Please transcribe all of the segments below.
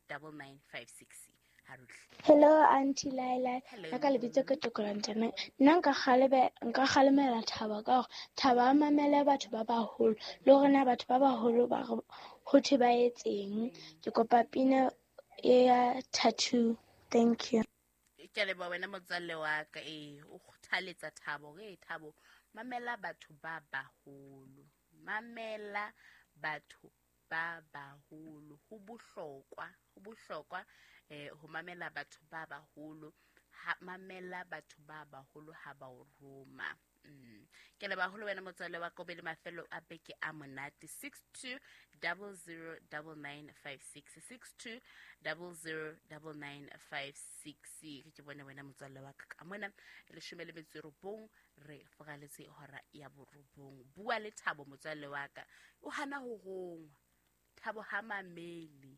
9956. Hello Auntie Laila. Nna ka lebitso ke Tokolo Nteme. Nna nka kgalebe nka kgalemela Thabo ka hore Thabo a mamele batho ba baholo le hore na batho ba baholo ba re ho thwe ba etseng. Ke kopa pina ya tattoo. Thank you. Ke a leboha wena motswalle wa ka. Ee, o kgothaletsa Thabo hore Thabo mamela batho ba baholo. Mamela batho ba baholo. Ho bohlokwa, ho bohlokwa ho mamela batho ba baholo. Ha mamela batho ba baholo ha ba o roma. Ke leboha haholo wena motswalle wa ka, o be le mafelo a beke a monate. 62009956, 62009956. Ke bone wena motswalle wa ka ka mona 19 re foraletse hora ya 9. Bua le Thabo motswalle wa ka, o hana ho rongwa. Thabo ha mamele.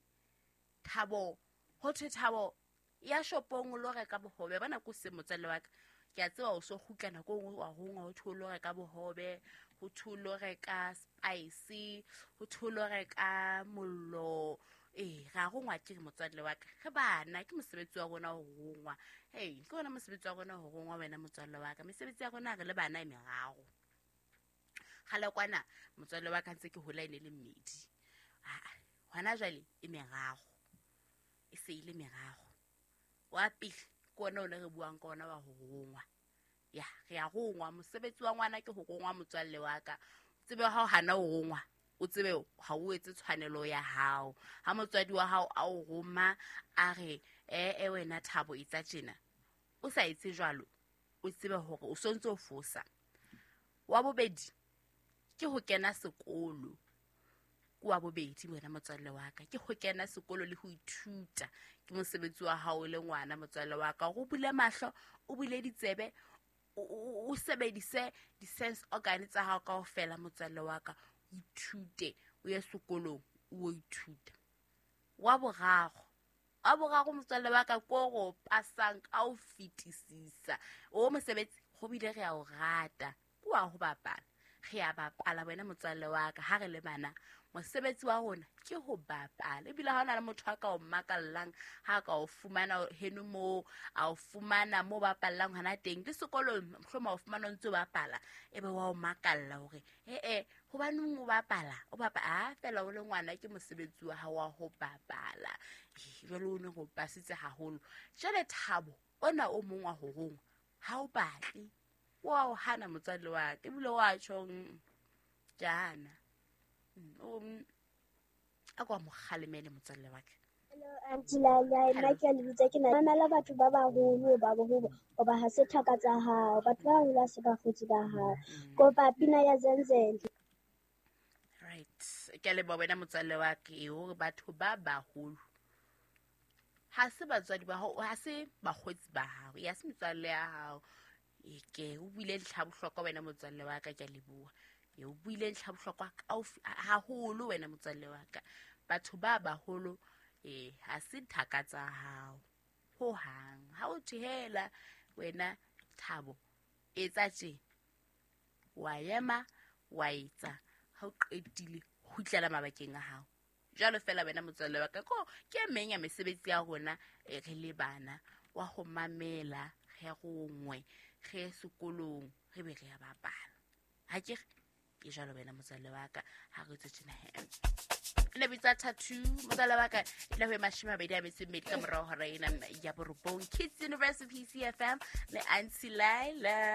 Thabo ho thwe Thabo ya shopong o lo reka bohobe. Bona ko se motswalle wa ka, ke a tseba o so kgutla nako e nngwe wa rongwa, ho thwe o lo reka bohobe, ho thwe o lo reka spice, ho thwe o lo reka mollo. Ee, ra rongwa ke re motswalle wa ka, re bana, ke mosebetsi wa rona ho rongwa. Hey, ke ona mosebetsi wa rona ho rongwa wena motswalle wa ka. Mesebetsi ya rona re le bana e meraro. Kgale kwana motswalle wa ka ntse ke hola e ne le mmedi. Hona jwale e meraro. E se ile meraro. Wa pele ke ona o ne re buang ka ona wa ho rongwa. Ya, re a rongwa. Mosebetsi wa ngwana ke ho rongwa motswalle wa ka. Tsebe ha o hana ho rongwa, o tsebe ha o etse tshwanelo ya hao. Ha motswadi wa hao a o roma a re e wena Thabo etsa tjena, o sa etse jwalo, o tsebe hore o sontse o fosa. Wa bobedi ke ho kena sekolo. Ke wa bobedi wena motswalle wa ka, ke ho kena sekolo le ho ithuta. Ke mosebetsi wa hao le ngwana motswalle wa ka, hore o bule mahlo, o bule ditsebe, o sebedise di-sense organ tsa hao kaofela motswalle wa ka. O ithute, o ye sekolong, o ithuta. Wa boraro motswalle wa ka ko go pasang ka o fetisisa. O mosebetsi go bile re a o rata, ke wa ho bapala. Re a bapala wena motswalle wa ka ha re le bana. Mosebetsi wa rona ke ho bapala. Ebile ha hona le motho a ka o makallang, ha ka o fumana heno moo, a o fumana mo bapallang hona teng. Le sekolong mohlomong o fumana o ntse o bapala, ebe wa o makalla hore hobaneng o bapala? O bapala, fela o le ngwana ke mosebetsi wa hao wa ho bapala. Jwale o ne go pasitse haholo. Jwale Thabo ona o mong wa ho rongwa ha o batle, wa o hana motswalle wa ka, ebile wa tjho, ke hana. A kwa mo kgalemele motswalle wa ka. Hello Auntie Laila, nna ke a le bitsa ke na mamela batho ba baholo ba boholo hoba ha se thaka tsa hao, batho ba baholo ha se bakgotsi ba hao. Kopa pina ya Zenzele. Right, ke a leboha wena motswalle wa ka, hore batho ba baholo ha se batswadi ba hao, ha se bakgotsi ba hao, ya se metswalle ya hao. Ke o buile ntlha bohlokwa wena motswalle wa ka, ke a leboha. O buile ntlha bohlokwa haholo wena motswalle wa ka. Batho ba baholo ha se thaka tsa hao ho hang. Ha o thehela wena Thabo etsa tje, wa ema wa etsa, ha o qetile kgutlela mabakeng a hao. Jwalo fela wena motswalle wa ka, ko ke e meng ya mesebetsi ya rona re le bana, wa ho mamela, re rongwe, re ye sekolong, re be re ya bapala. Ha ke re ke jwalo wena motswalle wa ka, ha re tswe tjena he. Ne bitsa tattoo motswalle wa ka, e tla ho 24 ka morao hora ena ya 9. Kids University PCFM le Auntie Laila.